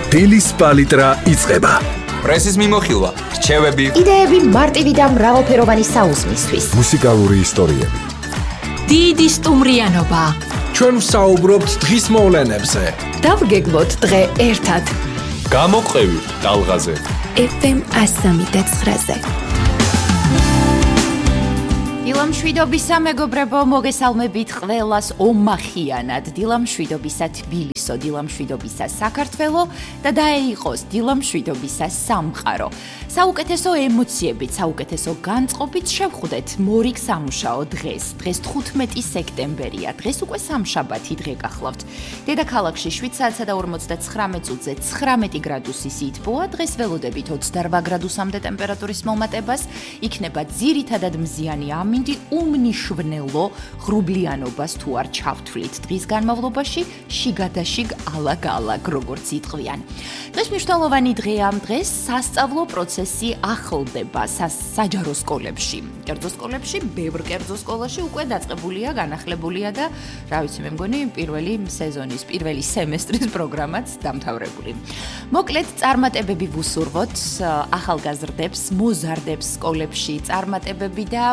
დილის პალიტრა იწყება. პრესის მიმოხილვა, რჩევები, იდეები მარტივი და მრავალფეროვანი საუზმისთვის. მუსიკალური ისტორიები. დიდი სტუმრიანობა. ჩვენ ვსაუბრობთ დღის მოვლენებზე. დავგეგმოთ დღე ერთად. გამოყევი ტალღაზე. FM 103.9-ზე. დილამშვიდობისა მეგობრებო, მოგესალმებით ყველას ომახიანად. დილამშვიდობისა თბილისო, დილამშვიდობისა საქართველო და დაეიყოს დილამშვიდობისა სამყარო. საუკეთესო ემოციებით, საუკეთესო განწყობით შევხვდეთ მორიგ სამუშაო დღეს. დღეს 15 სექტემბერია. დღეს უკვე სამშაბათი დღე გახლავთ. დედაქალაქში 7 საათსა და 59 წუთზე 19 გრადუსი სითბოა. დღეს ველოდებით 28 გრადუსამდე ტემპერატურის მომატებას. იქნება ძირითადად მზიანი ამინდი უმნიშვნელო ღრუბლიანობას თუ არ ჩავთვლით. დღის განმავლობაში შიგადაშიგ ალაგ-ალაგ როგორც იტყვიან. დღეს მნიშვნელოვანი დღეა. დღეს სასწავლო პროცესი ახლდება საჯარო სკოლებში. კერძო სკოლებში, ბევრ კერძო სკოლაში უკვე დაწყებულია, განახლებულია და რა ვიცი, მე მგონი პირველი სეზონის, პირველი სემესტრის პროგრამაც დამთავრებული. მოკლედ, წარმატებები ვუსურვოთ ახალგაზრდებს, მოზარდებს სკოლებში, წარმატებები და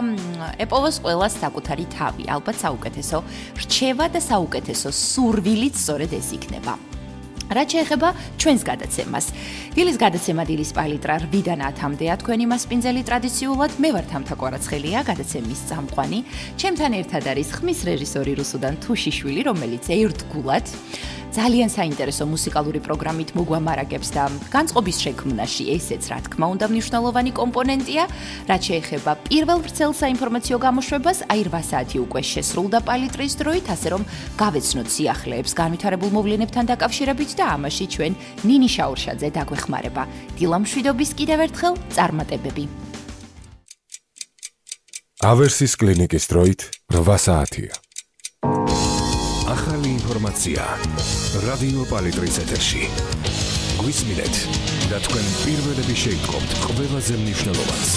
ეპოვოს ყველას საკუთარი თავი. ალბათ საუკეთესო რჩევა და საუკეთესო სურვილით სწორედ ეს იქნება. რაც შეეხება ჩვენს გადაცემას. დილის გადაცემა დილის პალიტრა 8-დან 10-მდეა თქვენი მასპინძელი ტრადიციულად. მე ვარ თამთა კვარაცხელია, გადაცემის წამყვანი. ჩემთან ერთად არის ხმის რეჟისორი რუსუდან თუშიშვილი, რომელიც ერთგულად ძალიან საინტერესო მუსიკალური პროგრამით მოგვამარაგებს და განწყობის შექმნაში ესეც რა თქმა უნდა მნიშვნელოვანი კომპონენტია. რაც შეეხება პირველ ვრცელ საინფორმაციო გამოშვებას, აი 8 საათი უკვე შესრულდა პალიტრის დროით, ასე რომ გავეცნოთ სიახლეებს განვითარებულ მოვლენებთან დაკავშირებით და ამაში ჩვენ ნინი შაურშაძე დაგვეხმარება. დილამშვიდობის კიდევ ერთხელ წარმატებები. ავერსის კლინიკის დროით 8 საათია. ახალი ინფორმაცია რადიო პალიტრის ეთერში. გვისმინეთ და თქვენ პირველები შეიტყობთ ყველაზე მნიშვნელოვანს.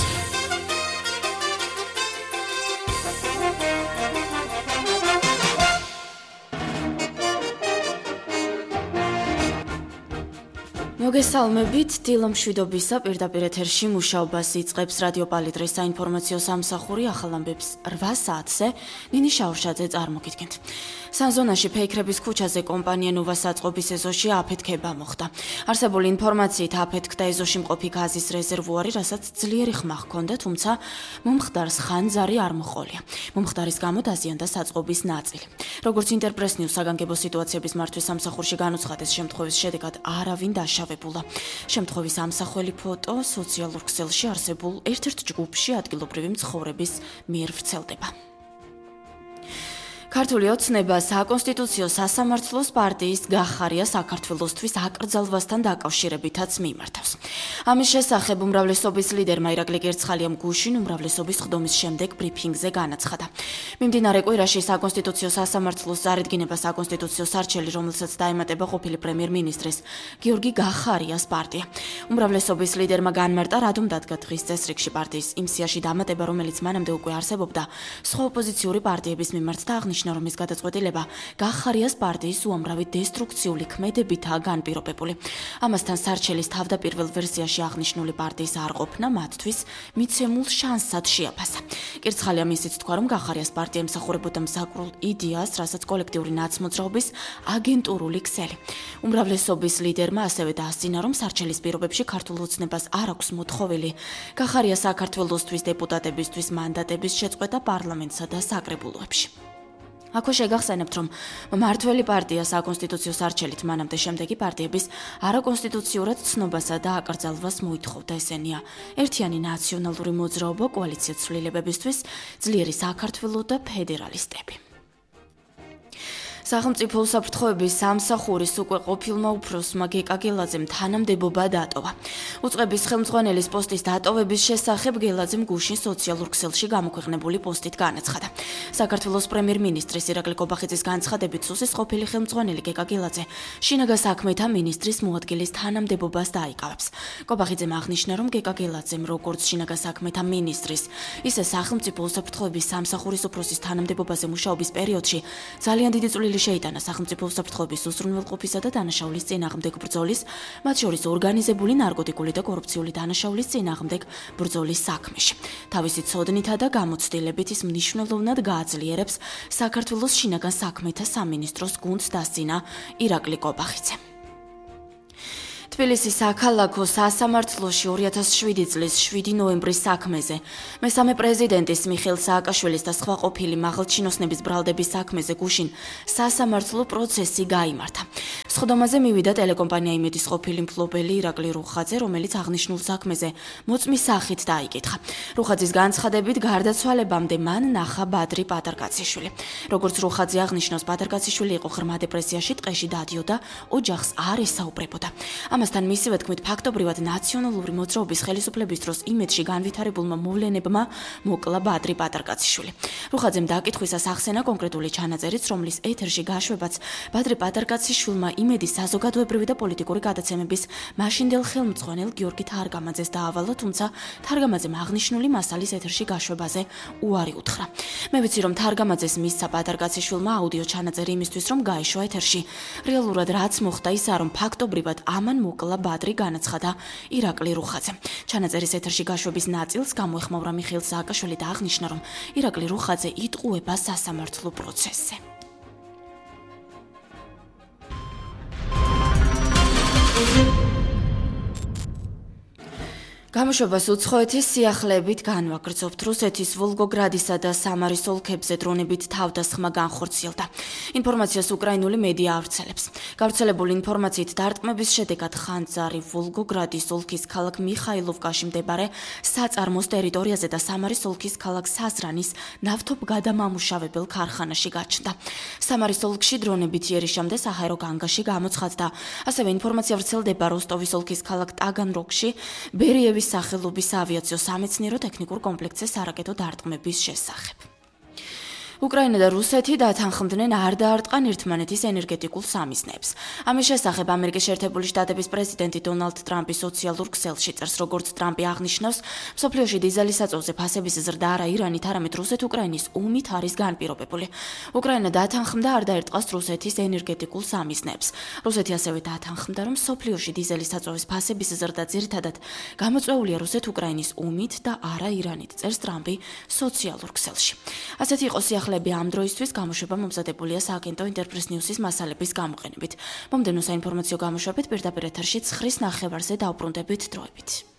მოგესალმებით, დილამშვიდობისა პირდაპირ ეთერში მუშაობას იწყებს რადიო პალიტრის საინფორმაციო სამსახური ახალ ამბებს 8 საათზე. ნინი შაურშაძე წარმოგიდგენთ. სანზონაში ფეიქრების ქუჩაზე კომპანია ნუვას აწყობის ეზოში აფეთქება მოხდა. არსებული ინფორმაციით აფეთქდა ეზოში მყოფი გაზის რეზერვუარი, რასაც ძლიერი ხმა ჰქონდა, თუმცა მომხდარს ხანძარი არ მოჰყოლია. მომხდარის გამო დაზიანდა საწყობის ნაწილი. როგორც ინტერპრეს-ნიუს საგანგებო სიტუაციების მართვის სამსახურში განუცხადეს, შემთხვევის შედეგად არავინ დაშავებულა. შემთხვევის ამსახველი ფოტო სოციალურ ქსელში არსებულ ერთ-ერთ ჯგუფში ადგილობრივი მცხოვრების მიერ ვრცელდება. ქართული ოცნება საკონსტიტუციო სასამართლოს პარტიის გახარია საქართველოსთვის აკრძალვასთან დაკავშირებითაც მიმართავს. ამის შესახებ უმრავლესობის ლიდერმა ირაკლი გერცხალიამ გუშინ უმრავლესობის ხდომის შემდეგ ბრიფინგზე განაცხადა. მიმდინარე კვირაში საკონსტიტუციო სასამართლოს წარედგინება საკონსტიტუციო სარჩელი, რომელსაც დაემატება ყოფილი პრემიერ-მინისტრის გიორგი გახარიას პარტია. უმრავლესობის ლიდერმა განმარტა, რადგან დადგა დღის წესრიგში პარტიის იმ სიაში დამატება, რომელიც მანამდე უკვე არსებობდა სხვა ოპოზიციური პარტიების მიმართ და აღნიშნა, რომ ის გადაწყვეტილება გახარიას პარტიის უამრავი დესტრუქციული ქმედებითაა განპირობებული. ამასთან სარჩელის თავდაპირველ ვერსიაში აღნიშნული პარტიის არყოფნა მათთვის მიცემულ შანსად შეაფასა. კერცხალიამ ისიც თქვა, რომ გახარიას პარტია ემსახურებოდა მსაკრულ იდეას, რასაც კოლექტიური ნაცმოძრაობის აგენტურული ქსელი. უმრავლესობის ლიდერმა ასევე დაასწინა, რომ სარჩელის პირობებში ქართულ ოცნებას არ აქვს მოთხოვილი გახარია საქართველოსთვის დეპუტატებისთვის მანდატების შეწყვეტა პარლამენტსა და საკრებულოებში. აქვე შეგახსენებთ, რომ მმართველი პარტია საკონსტიტუციო სარჩელით მანამდე შემდეგი პარტიების არაკონსტიტუციურად ცნობასა და აკრძალვას მოითხოვდა. ესენია ერთიანი ნაციონალური მოძრაობა, კოალიცია ცვლილებებისთვის, ძლიერი საქართველო და ფედერალისტები. სახელმწიფო უსაფრთხოების სამსახურის უკვე ყოფილმა უფროსმა გეკა გელაძემ თანამდებობა დატოვა. უწყების ხელმძღვანელის პოსტის დატოვების შესახებ გელაძემ გუშინ სოციალურ ქსელში გამოქვეყნებული პოსტით განაცხადა. საქართველოს პრემიერ-მინისტრის ირაკლი კობახიძის განცხადებით, სუსის ყოფილი ხელმძღვანელი გეკა გელაძე შინაგან საქმეთა მინისტრის მოადგილის თანამდებობას დაიკავებს. კობახიძემ აღნიშნა, რომ გეკა გელაძემ როგორც შინაგან საქმეთა მინისტრის, ისე სახელმწიფო უსაფრთხოების სამსახურის უფროსის თანამდებობაზე მუშაობის პერიოდში ძალიან დიდი წვლილი წვლილი შეიტანა სახელმწიფო უსაფრთხოების უზრუნველყოფისა და დანაშაულის წინააღმდეგ ბრძოლის, მათ შორის ორგანიზებული ნარკოტიკული და კორუფციული დანაშაულის წინააღმდეგ ბრძოლის საქმეში. თავისი ცოდნითა და გამოცდილებით ის მნიშვნელოვნად გააძლიერებს საქართველოს შინაგან საქმეთა სამინისტროს გუნდს დასწინა ირაკლი კობახიძე. თბილისის საქალაქო სასამართლოში 2007 წლის 7 ნოემბრის საქმეზე მესამე პრეზიდენტის მიხეილ სააკაშვილის და სხვა ყოფილი მაღალჩინოსნების ბრალდების საქმეზე გუშინ სასამართლო პროცესი გაიმართა. სხდომაზე მივიდა ტელეკომპანია იმედის ყოფილი მფლობელი ირაკლი რუხაძე, რომელიც აღნიშნულ საქმეზე მოწმის სახით დაიკითხა. რუხაძის განცხადებით, გარდაცვალებამდე მან ნახა ბადრი პატარკაციშვილი. როგორც რუხაძე აღნიშნავს, პატარკაციშვილი იყო ღრმა დეპრესიაში, ტყეში დადიოდა, ოჯახს არ ესაუბრებოდა. ამასთან მისივე თქმით, ფაქტობრივად ნაციონალური მოძრაობის ხელისუფლების დროს იმედში განვითარებულმა მოვლენებმა მოკლა ბადრი პატარკაციშვილი. რუხაძემ დაკითხვისას ახსენა კონკრეტული ჩანაწერიც, რომლის ეთერში გაშვებაც ბადრი პატარკაციშვილმა იმედის საზოგადოებრივი და პოლიტიკური გადაცემების მაშინდელ ხელმძღვანელ გიორგი თარგამაძეს დაავალა, თუმცა თარგამაძემ აღნიშნული მასალის ეთერში გაშვებაზე უარი უთხრა. მე ვიცი, რომ თარგამაძეს მისცა პატარკაციშვილმა აუდიო ჩანაწერი იმისთვის, რომ გაეშვა ეთერში. რეალურად რაც მოხდა ისაა, რომ ფაქტობრივად ამან მოკლა ბადრი, განაცხადა ირაკლი რუხაძე. ჩანაწერის ეთერში გაშვების ნაწილს გამოეხმაურა მიხეილ სააკაშვილი და აღნიშნა, რომ ირაკლი რუხაძე იტყუება სასამართლო პროცესზე. გამოშვებას უცხოეთის სიახლეებით განვაგრძობთ. რუსეთის ვოლგოგრადისა და სამარის ოლქებზე დრონებით თავდასხმა განხორციელდა. ინფორმაციას უკრაინული მედია ავრცელებს. გავრცელებული ინფორმაციით დარტყმების შედეგად ხანძარი ვოლგოგრადის ოლქის ქალაქ მიხაილოვკაში მდებარე საწარმოს ტერიტორიაზე და სამარის ოლქის ქალაქ საზრანის ნავთობგადამამუშავებელ ქარხანაში გაჩნდა. სამარის ოლქში დრონებით იერიშამდე საჰაერო განგაში გამოცხადდა. ასევე ინფორმაცია ვრცელდება როსტოვის ოლქის ქალაქ ტაგანროგში ბერიევის სახელობის ავიაციო სამეცნიერო ტექნიკურ კომპლექსზე სარაკეტო დარტყმების შესახებ. უკრაინა და რუსეთი დათანხმდნენ არ დაარტყან ერთმანეთის ენერგეტიკულ სამიზნეებს. ამის შესახებ ამერიკის შეერთებული შტატების პრეზიდენტი დონალდ ტრამპი სოციალურ ქსელში წერს, როგორც ტრამპი აღნიშნავს, მსოფლიოში დიზელის საწოლზე ფასების ზრდა არა ირანით, არამედ რუსეთ-უკრაინის ომით არის განპირობებული. უკრაინა დათანხმდა არ დაარტყას რუსეთის ენერგეტიკულ სამიზნეებს. რუსეთი ასევე დათანხმდა, რომ მსოფლიოში დიზელის საწოვის ფასების ზრდა ძირითადად გამოწვეულია რუსეთ-უკრაინის ომით და არა ირანით, წერს ტრამპი სოციალურ ქსელში. ასეთი იყო სიახლეები ამ დროისთვის. გამოშვება მომზადებულია სააგენტო ინტერპრეს ნიუსის მასალების გამოყენებით. მომდევნო საინფორმაციო გამოშვებით პირდაპირ ეთერში 9:30-ზე დავბრუნდებით დროებით.